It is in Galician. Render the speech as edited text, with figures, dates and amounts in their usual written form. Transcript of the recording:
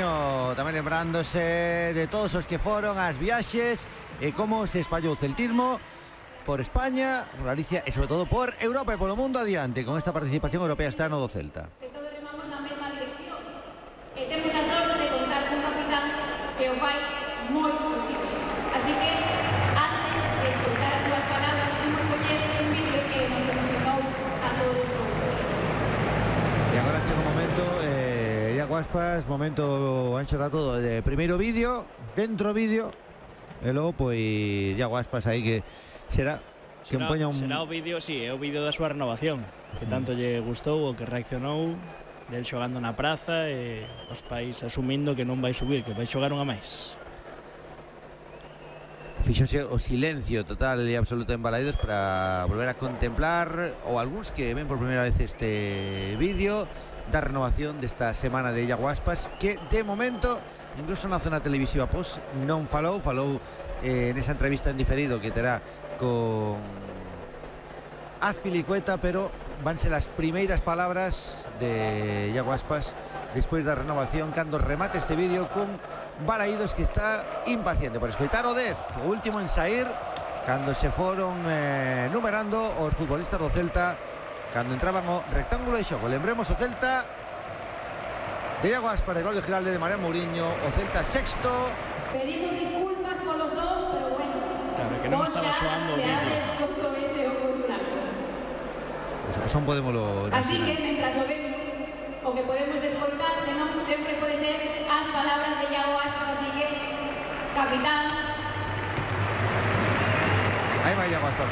Mourinho tamén lembrándose de todos os que foron ás viaxes e como se espallou o celtismo por España, por Galicia e sobre todo por Europa e polo mundo adiante con esta participación europea este ano do Celta. Que todos remamos na mesma dirección e temos a sorte de contar cun capitán que o fai moi posible. Así que, antes de escoitar as súas palabras, imos poñer un vídeo que nos emocionou a todos os. E agora chega o momento, Iago Aspas, momento ancho da todo de primeiro vídeo, dentro vídeo, e logo, pois, Iago Aspas aí que será o vídeo, sí, é o vídeo da súa renovación, que tanto lle gustou, o que reaccionou del xogando na praza e os pais asumindo que non vai subir, que vai xogar unha máis. Fíxose o silencio total e absoluto en Balaidos para volver a contemplar, ou algúns que ven por primeira vez este vídeo da renovación desta semana de Iago Aspas, que de momento, incluso na zona televisiva pois non falou nesa entrevista en diferido que terá con Azpilicueta, pero vanse las primeiras palabras de Iago Aspas despois da renovación cando remate este vídeo con Balaidos, que está impaciente por escoitar o 10, o último en sair cando se foron numerando os futbolistas do Celta cando entraban o rectángulo de xogo. Lembremos o Celta de Iago Aspas, de gol de Giralde, de Mariano Mourinho, o Celta sexto. Pedimos disculpas polo son, pero bueno. Claro, que non estaba soando o vídeo. O son podémoslo así que, mentras o vemos, o que podemos escoitar, senón sempre pode ser as palabras de Iago Aspas, así que, capitán. Aí vai Iago Aspas.